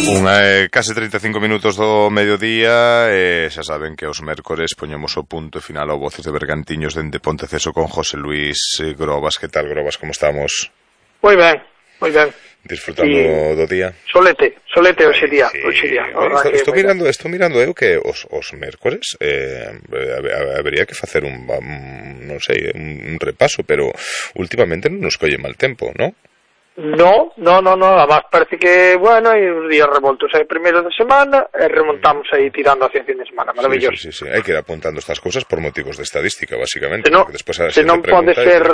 Case 35 minutos do mediodía e xa saben que os mércores poñemos o punto final ao Voces de Bergantiños dende Ponteceso con José Luis Grobas. Que tal, Grobas, como estamos? Moi ben, moi ben. Disfrutando do día? Solete hoxe día. Sí. Estou mirando eu que os mércores habería que facer un repaso, pero últimamente non nos colle mal tempo, non? No, además parece que, bueno, hai uns días revoltos aí primeiro de semana e remontamos aí tirando hacia fin de semana, maravilloso. Sí, hai que ir apuntando estas cousas por motivos de estadística, basicamente, se non pode ser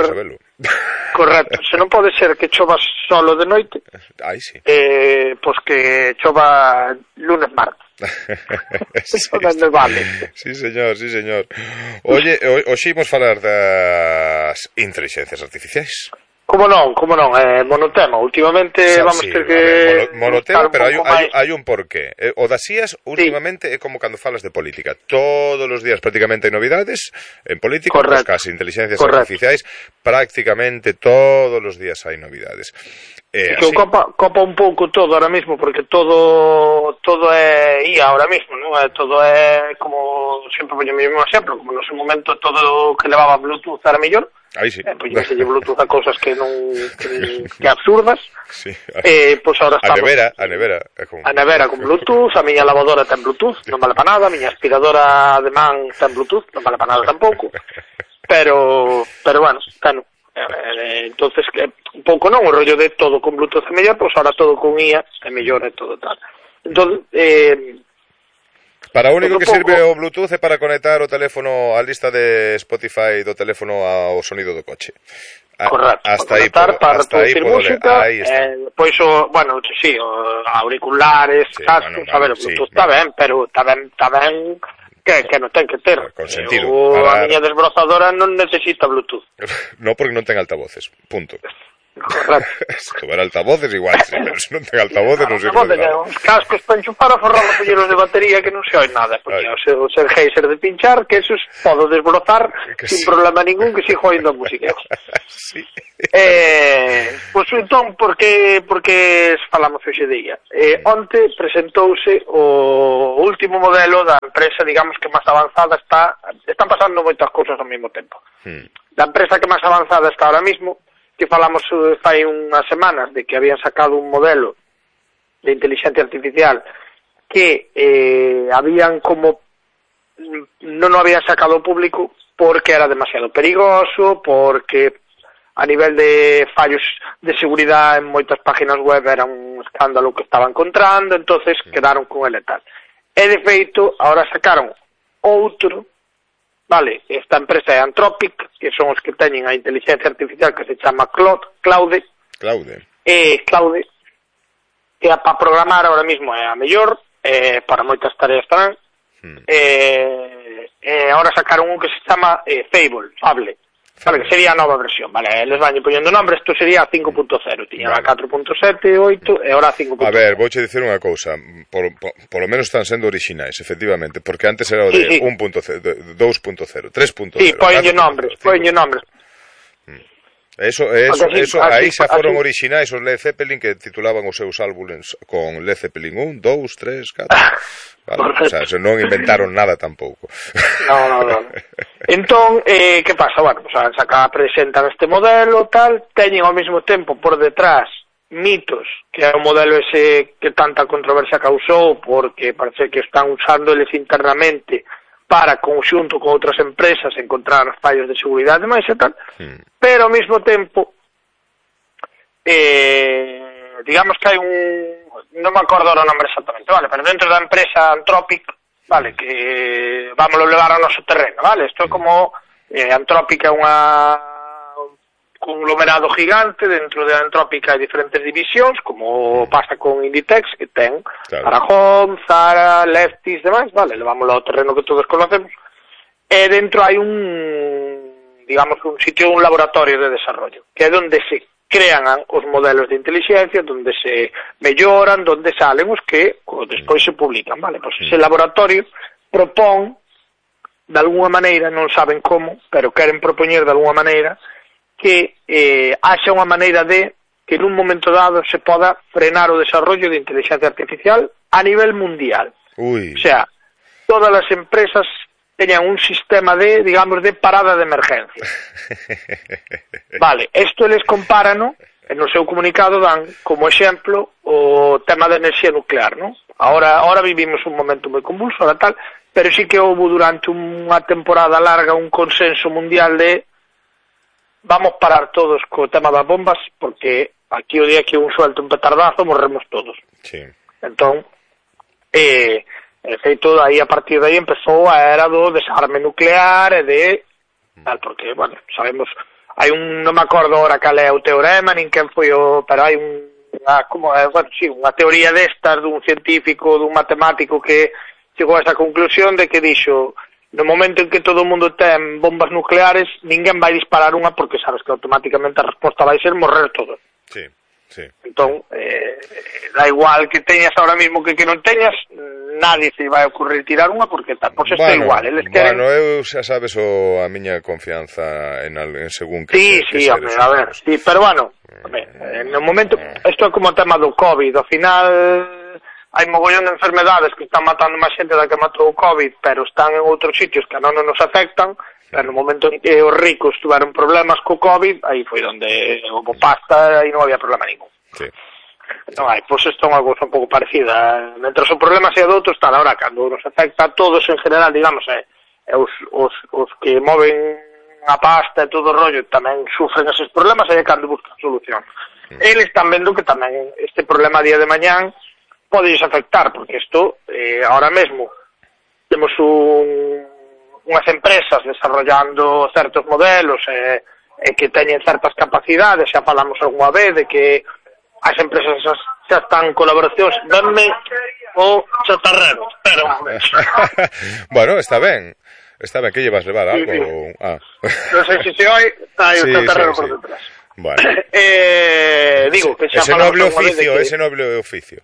correcto, se non pode ser que chova solo de noite, pois que chova lunes, martes. Vale. Sí, señor. Oye, hoxe imos falar das inteligencias artificiais. Como non, monotema. Últimamente vamos ter que... Monotema, pero hai un porqué. O das IAS, últimamente, é como cando falas de política. Todos os días prácticamente hai novidades en política, pues casi inteligencias artificiais, prácticamente todos os días hai novidades. Que copa un pouco todo ahora mismo, porque todo é IA ahora mismo, non? Todo é, como sempre poño o mesmo exemplo, como no seu momento todo que levaba Bluetooth era mellor. Aí sí. Pois se lle Bluetooth a cousas que absurdas. Sí. Pois ahora estamos... A nevera. A nevera con Bluetooth, a miña lavadora ten Bluetooth, non vale para nada, a miña aspiradora de man ten Bluetooth, non vale para nada tampouco. Pero bueno, claro. Entonces, un pouco non, o rollo de todo con Bluetooth é mellor, pois ahora todo con IA é mellor e todo tal. Entón, para o único que sirve o Bluetooth é para conectar o teléfono á lista de Spotify do teléfono ao sonido do coche. Correcto. Hasta aí producir música, pois bueno, sí, auriculares, cascos, a ver, o Bluetooth está ben, pero está ben que non ten que ter. Con sentido. A miña desbrozadora non necesita Bluetooth. Non, porque non ten altavoces, punto. Correcto. Se tuviera altavoces igual, sí, pero se non ten altavoces non sirve de nada. Os cascos para enchufar a forrar os polleros de batería que non se oi nada, porque o ser geyser de pinchar, que esos podo desbrozar sin problema ningún, que sigo oindo a música. Sí. Pois entón, porque falamos hoxe de IA? Onte presentouse o último modelo da empresa, digamos, que máis avanzada están pasando moitas cousas ao mesmo tempo. Da empresa que máis avanzada está ahora mismo, que falamos fai unhas semanas de que habían sacado un modelo de inteligencia artificial que habían como non o habían sacado ao público porque era demasiado perigoso, porque a nivel de fallos de seguridade en moitas páginas web era un escándalo que estaba encontrando, entonces quedaron con ele tal. E de feito, ahora sacaron outro. Vale, esta empresa é Anthropic, que son os que teñen a inteligencia artificial que se chama Claude, que para programar ahora mismo é a mellor, para moitas tareas tamén, ahora sacaron un que se chama Fable, vale, que sería a nova versión, vale, les van poñendo nombre, isto sería a 5.0, tiña a 4.7, 8, e ahora a 5.0. A ver, vouche dicir unha cousa, por lo menos están sendo orixinais, efectivamente, porque antes era o de 1.0, 2.0, 3.0. Sí, poñenlle nombres. Eso aí xa foron orixinais os Led Zeppelin, que titulaban os seus álbumes con Led Zeppelin 1, 2, 3, 4. Vale, o sea, non inventaron nada tampouco. No. Entón, que pasa? Bueno, pues presentan este modelo, tal, teñen ao mesmo tempo por detrás Mitos, que é o modelo ese que tanta controversia causou, porque parece que están usando eles internamente para, conxunto con outras empresas, encontrar fallos de seguridade máis e tal, pero ao mesmo tempo digamos que hai non me acordo o nombre exactamente, vale, pero dentro da empresa Anthropic, vale, que vámoslo levar ao noso terreno, vale, isto é como Anthropic é un conglomerado gigante, dentro de Anthropic hai diferentes divisións, como pasa con Inditex, que ten para Home, Zara, Lefties, demais, vale, levámoslo ao terreno que todos conocemos, e dentro hai un sitio, un laboratorio de desarrollo, que é onde se crean os modelos de inteligencia, onde se melloran, onde salen os que despois se publican, vale, pois ese laboratorio propón, de alguna maneira, non saben como, pero queren propoñer de alguna maneira, que haxa unha maneira de que nun momento dado se poda frenar o desarrollo de inteligencia artificial a nivel mundial. Ui. O sea, todas as empresas teñan un sistema de, digamos, de parada de emergencia. Vale, isto eles comparan, e no seu comunicado dan como exemplo o tema da enerxía nuclear, non? Ahora vivimos un momento moi convulso, ahora tal, pero sí que houve durante unha temporada larga un consenso mundial de vamos parar todos co tema das bombas, porque aquí o día que un suelto un petardazo morremos todos. Sí. Entón, de feito, aí a partir de aí empezou a era do desarme nuclear e de tal, porque, bueno, sabemos, hai non me acordo ahora cal é o teorema, nin quen foi pero hai unha teoría destas dun científico, dun matemático que chegou a esa conclusión de que dixo, no momento en que todo o mundo ten bombas nucleares, ninguén vai disparar unha porque sabes que automáticamente a resposta vai ser morrer todos. Sí, sí. Entón, da igual que teñas ahora mismo que non teñas, nadie se vai a ocurrir tirar unha porque tal, pois isto é igual. Eles queren... Bueno, eu xa sabes a miña confianza en según que Sí, home, a ver, sí, pero bueno, no momento, isto é como o tema do COVID, ao final hai mogollón de enfermedades que están matando máis xente da que matou o COVID, pero están en outros sitios que non nos afectan. Pero no momento en que os ricos tuveron problemas co COVID, aí foi onde houve pasta e non había problema ningún. Sí. Non hai, pois isto é unha cousa un pouco parecida. Mentre o problema sea de outros, tal, ahora, cando nos afecta a todos en general, digamos, os que moven a pasta e todo o rollo tamén sufren eses problemas, aí é cando buscan solución. Eles están vendo que tamén este problema a día de mañán pode afectar, porque isto, ahora mesmo, temos unhas empresas desarrollando certos modelos e que teñen certas capacidades, xa falamos algunha vez de que as empresas xa están en colaboracións. Danme o chatarrero, pero... Bueno, está ben, que llevas levar algo? Sí. Non sei se hai o chatarrero por detrás. Bueno. Digo que xa falamos algunha vez de que... Ese noble oficio.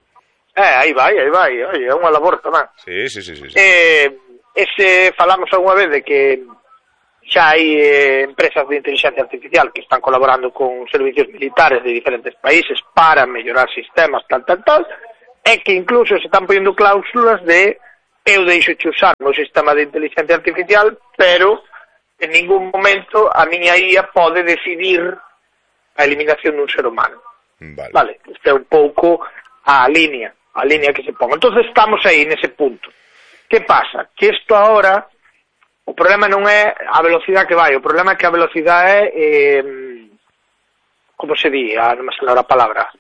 Aí vai, é unha labor tamén. Sí. Falamos algunha vez de que xa hai empresas de inteligencia artificial que están colaborando con servicios militares de diferentes países para mellorar sistemas, tal, e que incluso se están poniendo cláusulas de eu deixo de usar o meu sistema de inteligencia artificial, pero en ningún momento a miña IA pode decidir a eliminación dun ser humano. Vale, este é un pouco a línea que se pon. Entonces estamos aí nese punto. Que pasa? Que isto ahora, o problema non é a velocidade que vai, o problema é que a velocidade é, como se di, non me sale a palabra,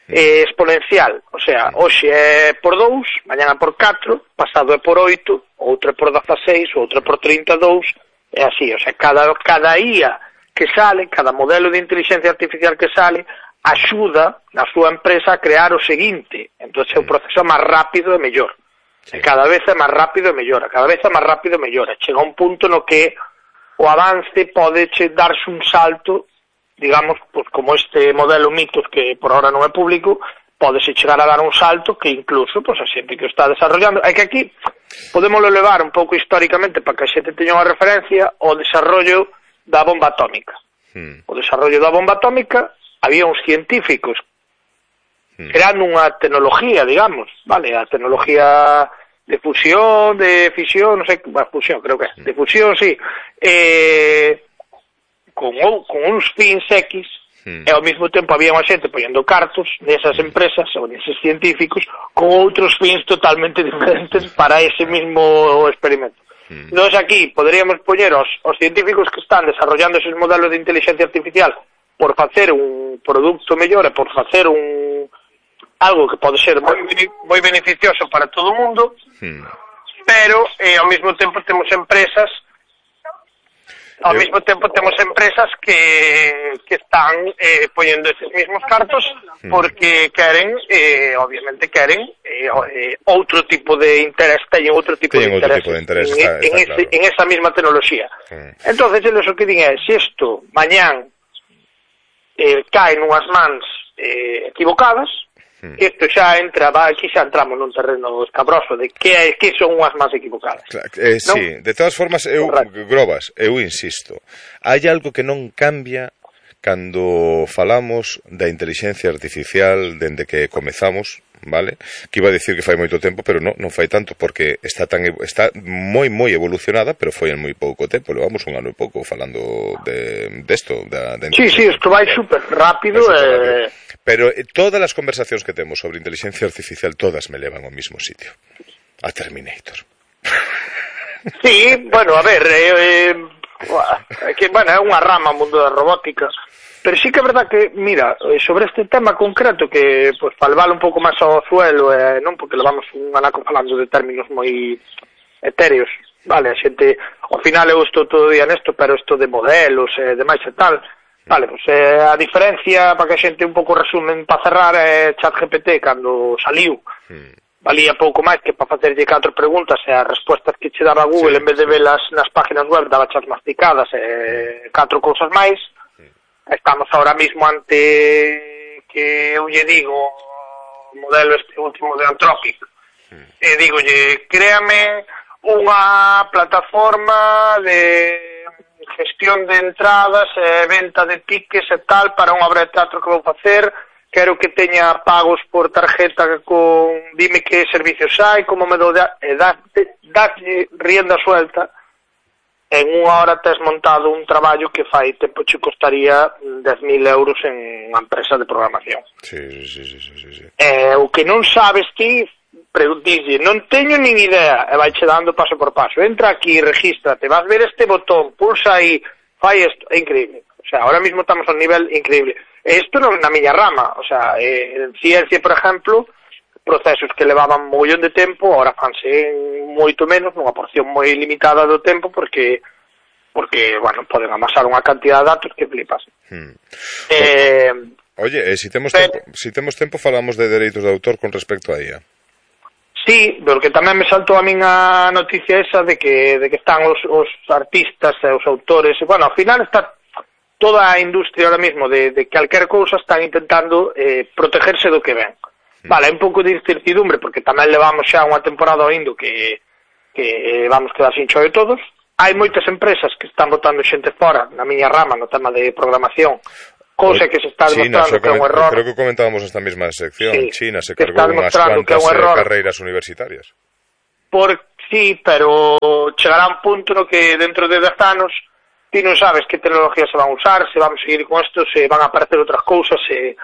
exponencial. O sea, hoxe é por 2, mañana por 4, pasado é por 8, outro é por 16, outro é por 32, é así. O sea, cada IA que sale, cada modelo de inteligencia artificial que sale, axuda na súa empresa a crear o seguinte. Entón, o proceso é máis rápido e mellor. Sí. Cada vez é máis rápido e mellora, chega un punto no que o avance pode darse un salto, digamos, pues, como este modelo Mitos, que por ahora non é público, podese chegar a dar un salto que incluso pues, a xente que o está desarrollando. É que aquí podemos levar un pouco históricamente para que a xente teña unha referencia ao desarrollo da bomba atómica. O desarrollo da bomba atómica, había uns científicos creando unha tecnología, digamos, vale, a tecnología de fusión, de fisión, non sei, fusión, creo que é, de fusión, sí, con uns fins X, e ao mesmo tempo había unha xente poñendo cartos nesas empresas ou neses científicos con outros fins totalmente diferentes para ese mismo experimento. Entón aquí poderíamos poñer os científicos que están desarrollando esos modelos de inteligencia artificial por facer un produto mellor e por facer algo que pode ser moi beneficioso para todo o mundo, pero ao mesmo tempo temos empresas que están poñendo esos mesmos cartos porque obviamente queren outro tipo de interés, teñen outro tipo de interés en esa mesma tecnoloxía. Entonces, eles o que din é, se isto mañán cae nunhas mans equivocadas, que isto xa aquí xa entramos nun terreno escabroso de que son unhas máis equivocadas. Sí, de todas formas, eu insisto, hai algo que non cambia, cando falamos da inteligencia artificial dende que comezamos, vale? Que iba a dicir que fai moito tempo, pero non fai tanto, porque está moi evolucionada, pero foi en moi pouco tempo. Levamos un ano e pouco falando desto. Sí, isto vai super rápido. Pero todas as conversacións que temos sobre inteligencia artificial, todas me levan ao mismo sitio. A Terminator. Sí, bueno, a ver, que, bueno, é unha rama o mundo da robótica, pero sí que é verdad que, mira, sobre este tema concreto, que, pues, falvalo un pouco máis ao suelo, non porque levamos un anaco falando de términos moi etéreos, vale, a xente, ao final eu estou todo o día nesto, pero isto de modelos e demais e tal, vale, pues, a diferencia, para que a xente un pouco resumen, para cerrar, é ChatGPT, cando saliu, valía pouco máis que para facerlle 4 preguntas e as respostas que che daba Google, en vez de velas nas páginas web, daba chas masticadas e 4 cousas máis. Estamos ahora mismo ante que eu lle digo o modelo este último de Anthropic, e digolle, créame unha plataforma de gestión de entradas e venta de tickets e tal para unha obra de teatro que vou facer. Quero que teña pagos por tarjeta con... Dime que servicios hai, como me dou... Dalle rienda suelta. En unha hora tes montado un traballo que fai tempo che costaría 10.000 euros en unha empresa de programación. Sí. O que non sabes ti, dixlle, non teño nin idea, e vai che dando paso por paso. Entra aquí, regístrate, vas ver este botón, pulsa aí, fai isto, é increíble. O sea, ahora mismo estamos a un nivel increíble. Isto non na miña rama, o sea, en ciencia, por exemplo, procesos que levaban mogollón de tempo, ahora fanse moito menos, nunha porción moi limitada do tempo, porque bueno, poden amasar unha cantidad de datos que flipas. Oye, se temos tempo falamos de dereitos de autor con respecto a IA. Sí, porque tamén me saltou a min a noticia esa de que están os artistas e os autores, e, bueno, ao final está toda a industria ahora mismo de calquer cousa están intentando protegerse do que ven. Vale, un pouco de incertidumbre, porque tamén levamos xa unha temporada oindo que vamos quedar sin choio todos. Hai moitas empresas que están botando xente fora, na miña rama, no tema de programación, cousa que se está demostrando que é un error. Creo que comentábamos esta mesma sección. Sí, China se cargou unhas cuantas carreiras universitarias. Sí, pero chegará un punto no que dentro de 10 anos ti non sabes que tecnología se van a usar, se vamos a seguir con isto, se van a aparecer outras cousas, e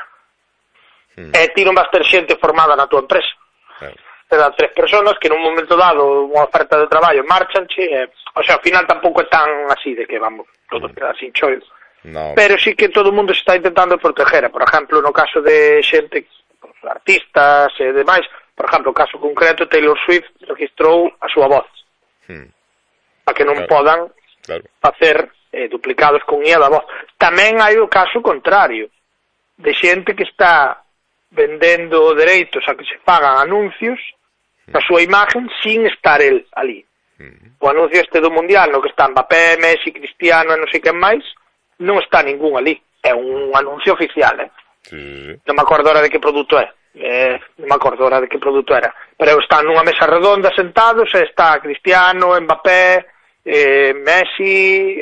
ti non vas ter xente formada na tua empresa. Te dan 3 personas que nun momento dado unha oferta de traballo marchanche, o sea, ao final tampouco é tan así de que vamos todos quedar sin choios. No. Pero sí que todo o mundo se está intentando proteger, por exemplo, no caso de xente, artistas e demais, por exemplo, o caso concreto, Taylor Swift registrou a súa voz para que non podan facer duplicados con IA da voz. Tamén hai o caso contrario, de xente que está vendendo dereitos a que se fagan anuncios da súa imagen sin estar el ali. O anuncio este do Mundial, no que está Mbappé, Messi, Cristiano e non sei quen máis, non está ningún ali. É un anuncio oficial, Non me acordo ahora de que produto é. Non me acordo ahora de que produto era. Pero están nunha mesa redonda sentados e está Cristiano, Mbappé, Messi,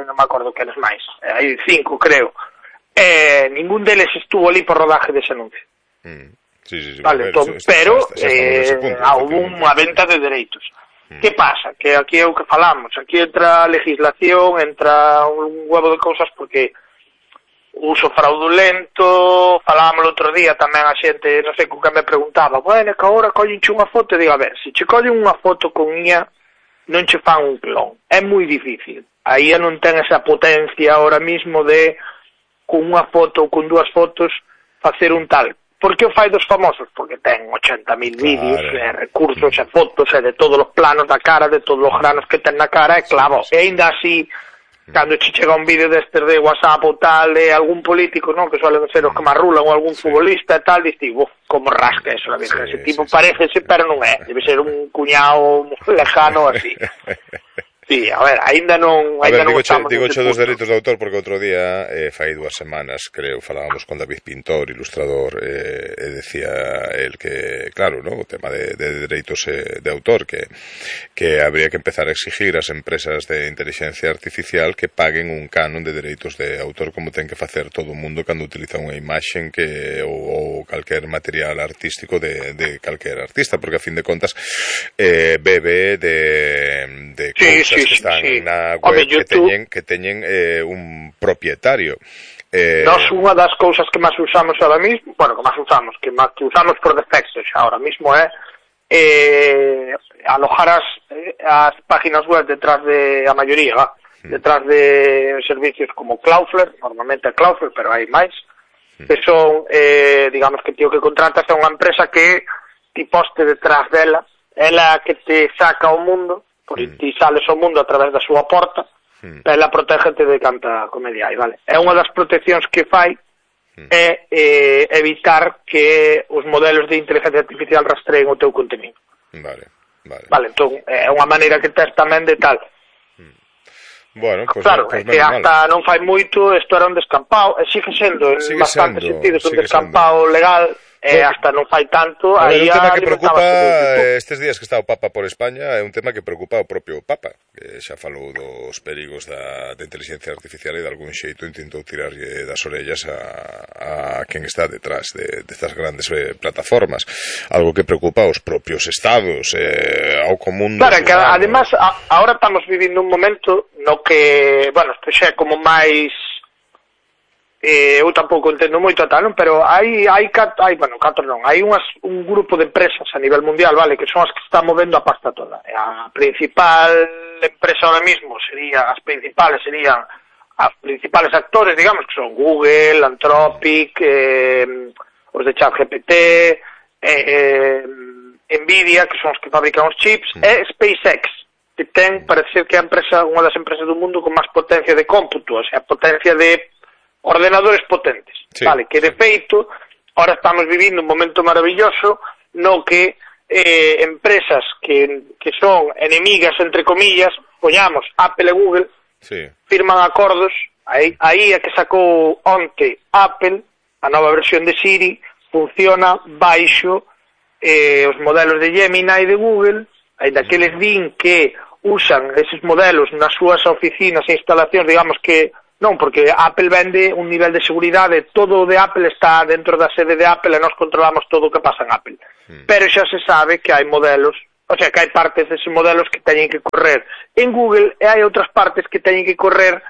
non me acordo quenes máis. Hai 5, creo. Ningún deles estuvo ali por rodaje dese anuncio. Sí, vale, entón, pero houve unha venta de dereitos. Que pasa? Que aquí é o que falamos, aquí entra a legislación, entra un huevo de cousas, porque uso fraudulento, falábamos outro día tamén a xente, non sei con que me preguntaba, bueno, que agora collenche unha foto, e digo, a ver, se che collen unha foto con IA, non che fan un clon, é moi difícil. A IA non ten esa potencia ahora mismo de, con unha foto ou con 2 fotos, facer un tal. Por que o fai dos famosos? Porque ten 80.000 vídeos, recursos e fotos e de todos os planos da cara, de todos os granos que ten na cara, e claro, e ainda así, cando che chega un vídeo destes de WhatsApp ou tal, de algún político, non, que suelen ser os que marrulan, ou algún futbolista e tal, dices, como rasca eso, la virgen, ese tipo parecese, pero non é, debe ser un cuñado lejano así. Sí, a ver, aínda non estamos... Digoche dos dereitos de autor porque outro día, fai 2 semanas, creo, falábamos con David Pintor, ilustrador, e decía el que, claro, ¿no? O tema de dereitos de autor, que habría que empezar a exigir ás empresas de inteligencia artificial que paguen un canon de dereitos de autor como ten que facer todo o mundo cando utiliza unha imaxen ou calquer material artístico de calquer artista, porque a fin de contas bebe de cousas que están na web que teñen un propietario. Nós unha das cousas que máis usamos ahora mismo, que usamos por defecto xa ahora mismo é alojar as páginas web detrás de a maioría, detrás de servicios como Cloudflare, normalmente é Cloudflare, pero hai máis, que son, digamos que tío que contratas a unha empresa que ti poste detrás dela, ela que te saca ao mundo, ti sales ao mundo a través da súa porta, ela protégete de canta comedia hai, vale? É unha das proteccións que fai é evitar que os modelos de inteligencia artificial rastreen o teu contenido. Vale, entón, é unha maneira que tes tamén de tal. Bueno, pues claro, é que hasta non fai moito isto era un descampado, e sigue sendo en bastante sentido un descampado legal. Hasta non fai tanto. A ver, un tema que preocupa estes días que está o Papa por España é un tema que preocupa o propio Papa, que xa falou dos perigos da inteligencia artificial e de algún xeito intentou tirarlle das orellas a quen está detrás destas grandes plataformas, algo que preocupa aos propios estados, ao común. Claro, que además ahora estamos vivindo un momento no que, bueno, isto xa é como máis eu tampouco entendo moito tal, non? Pero hai un grupo de empresas a nivel mundial, vale, que son as que están movendo a pasta toda. A principal empresa ahora mismo serían os principales actores, digamos, que son Google, Anthropic, os de ChatGPT, Nvidia, que son os que fabrican os chips, e SpaceX, que parece ser que é unha das empresas do mundo con máis potencia de cómputo, o sea, potencia de ordenadores potentes, vale, que de feito ahora estamos vivindo un momento maravilloso no que empresas que son enemigas, entre comillas, poñamos Apple e Google, firman acordos, aí é que sacou onte Apple, a nova versión de Siri, funciona baixo os modelos de Gemini de Google, ainda que les din que usan eses modelos nas súas oficinas e instalacións, digamos que non, porque Apple vende un nivel de seguridade, todo o de Apple está dentro da sede de Apple e nós controlamos todo o que pasa en Apple. Pero xa se sabe que hai modelos, o sea, que hai partes deses modelos que teñen que correr en Google e hai outras partes que teñen que correr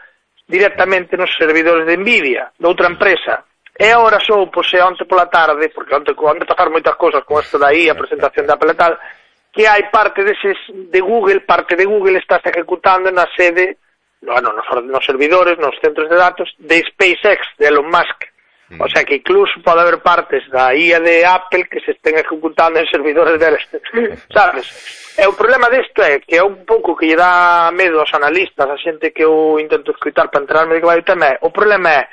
directamente nos servidores de Nvidia, de outra empresa. E agora sou, pois, onte pola tarde, porque onte pasar moitas cousas con isto dai, a presentación de Apple e tal, que hai parte deses de Google, está ejecutando na sede, nos servidores, nos centros de datos de SpaceX, de Elon Musk. O sea que incluso pode haber partes da IA de Apple que se estén ejecutando en servidores deles, sabes? E o problema disto é que é un pouco que lle dá medo aos analistas, a xente que eu intento escutar para enterarme de que vai o tema, o problema é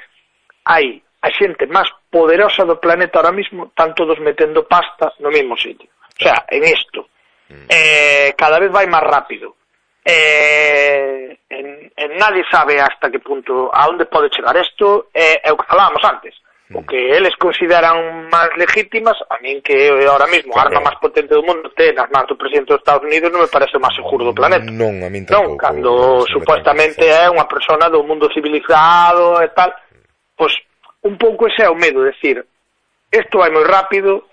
hai a xente máis poderosa do planeta ahora mismo, están todos metendo pasta no mesmo sitio. O sea, en isto. Cada vez vai máis rápido. Nadie sabe hasta que punto, a onde pode chegar isto, é o que falábamos antes, o que eles consideran máis legítimas, a min que ahora mesmo a arma máis potente do mundo ten as mans do presidente dos Estados Unidos non me parece o máis seguro do planeta. Non, a min tampouco. Non, cando supuestamente é unha persona do mundo civilizado e tal, pois un pouco ese é o medo, decir, isto vai moi rápido,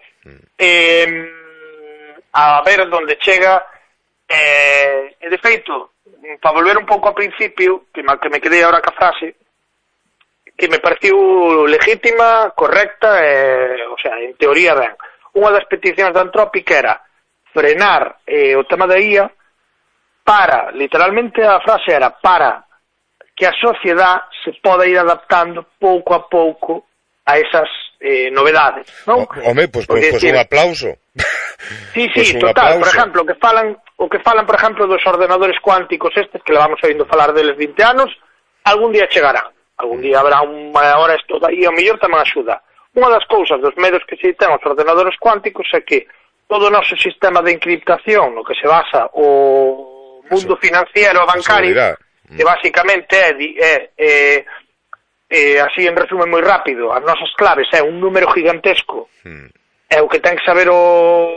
a ver onde chega. E de feito, para volver un pouco ao principio, que me quedei ahora ca frase, que me pareceu legítima, correcta, o sea, en teoría ben. Unha das peticións da Anthropic era frenar o tema da IA para, literalmente a frase era, para que a sociedade se poda ir adaptando pouco a pouco a esas novedades, non? Home, pois un aplauso. Sí, total, por exemplo, o que falan, por exemplo, dos ordenadores cuánticos estes, que levamos oindo falar deles 20 anos, algún día chegarán, algún día haberá unha hora isto aí, ao mellor tamén axuda. Unha das cousas, dos medios que se ten os ordenadores cuánticos é que todo o noso sistema de encriptación, no que se basa o mundo financiero e bancario, que basicamente así en resumen moi rápido, as nosas claves é un número gigantesco, e o que ten que saber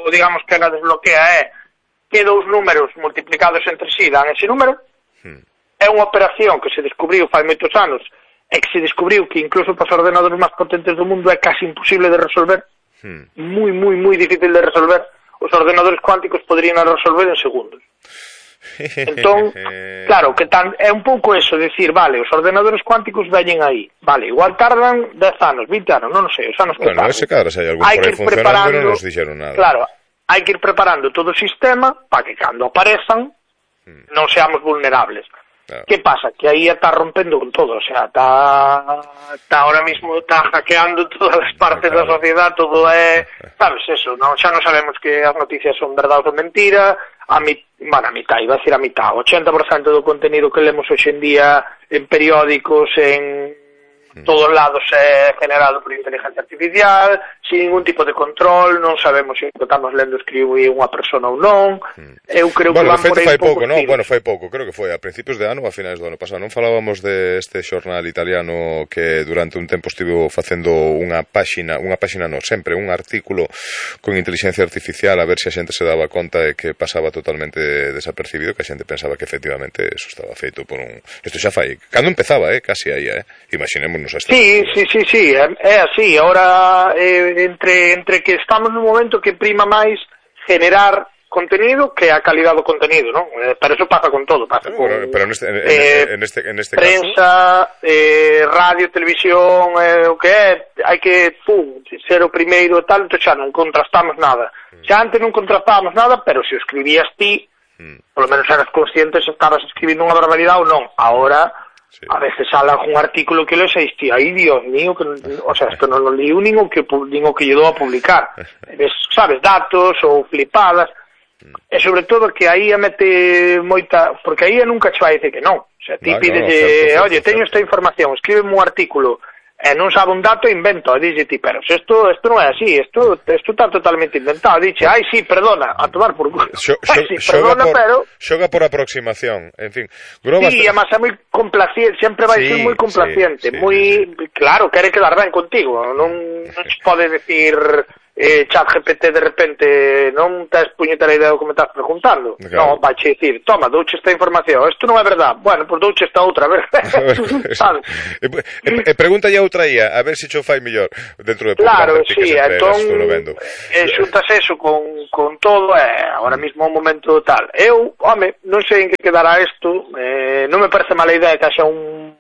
digamos que a desbloquea é que dous números multiplicados entre si dan ese número. É unha operación que se descubriu fai moitos anos e que se descubriu que incluso para os ordenadores máis potentes do mundo é casi imposible de resolver, moi difícil de resolver. Os ordenadores cuánticos poderían resolver en segundos. Entón, claro, que é un pouco eso, decir, vale, os ordenadores cuánticos veñen aí, vale, igual tardan 10 anos, 20 anos, non sei, os anos que tardan. Ese cara, se hai algún por aí funcionando, non nos dixeron nada. Claro, hai que ir preparando todo o sistema para que cando aparezan non seamos vulnerables. Que pasa? Que aí está rompendo con todo, o sea, está ahora mismo está hackeando todas as partes da sociedade, todo é, sabes, eso, xa non sabemos que as noticias son verdade ou mentira, a mitad, iba a decir a mitad, 80% do contenido que lemos hoxe en día en periódicos, en todos lados é generado por inteligencia artificial, sin ningún tipo de control, non sabemos se o que estamos lendo escribe unha persona ou non. Eu creo que van por aí fai pouco, non? Bueno, fai pouco, creo que foi a principios de ano ou a finais do ano pasado. Non falábamos de este xornal italiano que durante un tempo estivo facendo unha páxina non, sempre un artículo con inteligencia artificial a ver se a xente se daba conta de que pasaba totalmente desapercibido, que a xente pensaba que efectivamente eso estaba feito por un... Isto xa fai, cando empezaba, casi aí, imaginémonos. Sí, é así. Ahora, entre que estamos nun momento que prima máis generar contenido que a calidad do contenido, non? Pero eso pasa con todo, pasa con pero en este prensa, caso... radio, televisión, o que é, hai que ser o primeiro e tal, entón xa non contrastamos nada. Xa antes non contrastábamos nada, pero se o escribías ti, polo menos eras consciente se estabas escribindo unha barbaridade ou non. Ahora... Sí. A veces sale un artículo que lees e dices, ai, Dios mío, que, o sea, esto non lo lío nin o que lle dou a publicar. Ves, sabes, datos ou flipadas, e sobre todo que aí a mete moita, porque aí nunca che vai dizer que non. O sea, ti pides, oye, teño esta información, escríbeme un artículo, e non sabe un dato, invento, e dixe ti, pero isto non é así, isto está totalmente inventado, dixe, ai, sí, perdona, a tomar por culo, xoga por aproximación, en fin. Sí, además é moi complaciente, sempre vai ser moi complaciente, moi, claro, quere quedar ben contigo, non se pode decir... ChatGPT de repente non tes puñetera idea do que me estás preguntando, claro. Non, vai che dicir, toma, douche esta información, isto non é verdade, bueno, pois douche esta outra, a ver, sabes? Pregúntalle a outra IA, a ver se cho fai mellor dentro de pouco. Claro, sí, entón xuntas eso con todo, agora mismo un momento tal. Eu, non sei en que quedará isto, non me parece mala idea que haxa un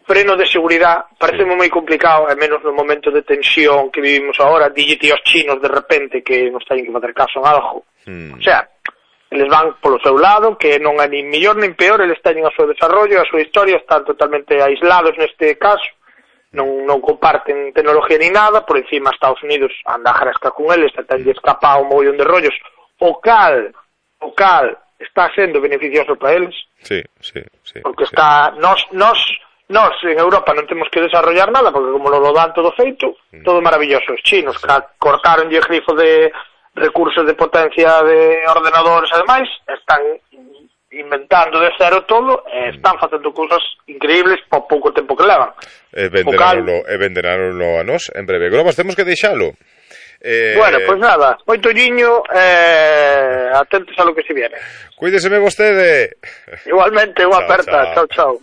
freno de seguridade, parece moi complicado, e menos no momento de tensión que vivimos agora, díllete aos chinos de repente que nos teñen que facer caso en algo. O sea, eles van polo seu lado, que non é nin mellor nin peor, eles teñen o seu desarrollo, a súa historia, están totalmente aislados neste caso, non comparten tecnología ni nada, por encima Estados Unidos anda a gresca con eles, tenlle escapado un mogollón de rollos, o cal está sendo beneficioso para eles. Sí. Porque está, Nos en Europa non temos que desarrollar nada porque como lo dan todo feito, todo maravilloso. Os chinos cortaron o grifo de recursos de potencia de ordenadores e demais, están inventando de cero todo e están facendo cousas increíbles por pouco tempo que levan. Venderáronlo a nós en breve. Grobas, temos que deixalo. Bueno, pois nada, moito liño, atentos a lo que se viene. Cuídeseme vostede. Igualmente, unha aperta. Chao.